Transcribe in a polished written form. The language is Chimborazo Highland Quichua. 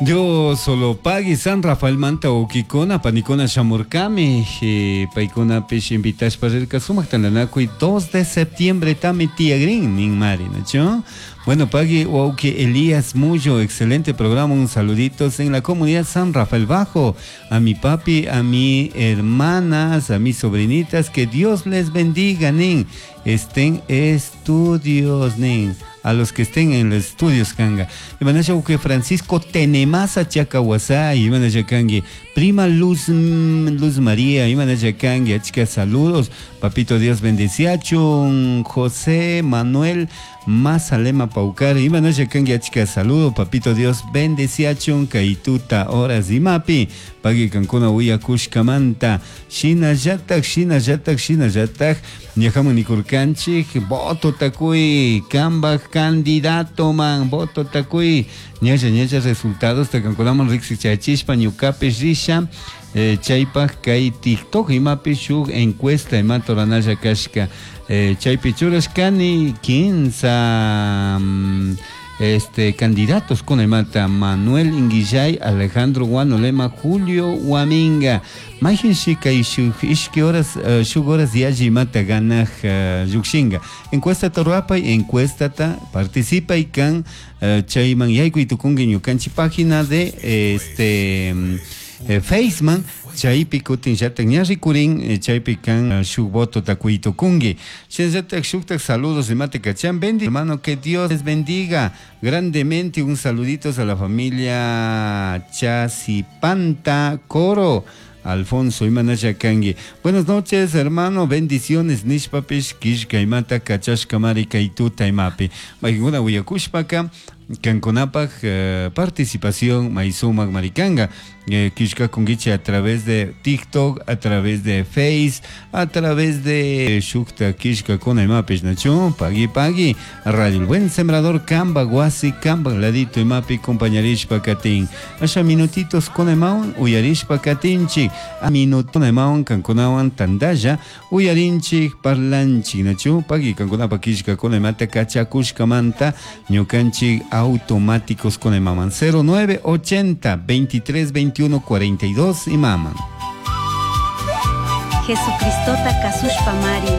Dios solo pagui San Rafael manta ukikuna panikuna shamurkami paykunapish invitashpa rirka sumak tantanakuy 2 de septiembre tami tiyagrin ninmari, ¿nachu? Bueno, pagui wawki Elías Mullo, excelente programa, un saluditos en la comunidad San Rafael Bajo, a mi papi, a mi hermanas, a mis sobrinitas, que Dios les bendiga, nin, estén estudios, nin, a los que estén en los estudios, kanga. Imanasha que Francisco Tenemasa Chacahuasá, imanasha kangi, prima Luz, Luz María, imanasha kangi, achka saludos, papito Dios bendeciachun, José Manuel Mazalema Paucar, imanasha kangi, achka saludo, papito Dios bendeciachun, kaituta horas imapi, pagui kankuna uyakushkamanta, shinallatak, shinallatak, shinallatak, ñajaman nikurkanchik, voto takuy, kambaj candidato man, voto takuy, ñalla ñalla resultados takankunaman riksichachishpa ñukapish risha, chaypaj kay TikTok imapi shuk encuesta imata ruranalla kashka, chaypi churashkani 15 candidatos kuna imata Manuel Inguillay, Alejandro Guanolema, Julio Huaminga. Mayjinshi kay shuk ishki horas, shuk horas yalli imata ganaj llukshinga. Encuesta ta ruapay, encuesta ta participay kan, chayman yaykuy tukunki ñukanchik página de Faceman, chaypi kutin llatak ña rikurin, chaypi kan shuk voto takuy tukunki. Shinallatak shuktak saludos imata kachan, bendi hermano, que Dios les bendiga grandemente. Un saluditos a la familia Chasipanta Coro. Alfonso imanasha kanki. Buenas noches, hermano, bendiciones nishpapish kishka imata kachashkamari kay tuta imapi. Maykuna uyakushpaka kankunapaj participación may sumak marikanga. Kishka kunkichi a través de TikTok, a través de Face, a través de shukta kishka kuna imapish nachu, pagui pagui, Radio El Buen Sembrador, Kamba Guasi, Kamba Ladito imapi compañarishpa katin. Asha minutitos kuna imawan uyarishpa katinchik. A minuto imawan kankunawan tandalla uyarinchik parlanchik nachu, pagui kankunapa kishka kuna imata kachakushkamanta ñukanchik automáticos con imaman 09 80 23 21 42 imaman. Jesucristota kasushpa mari.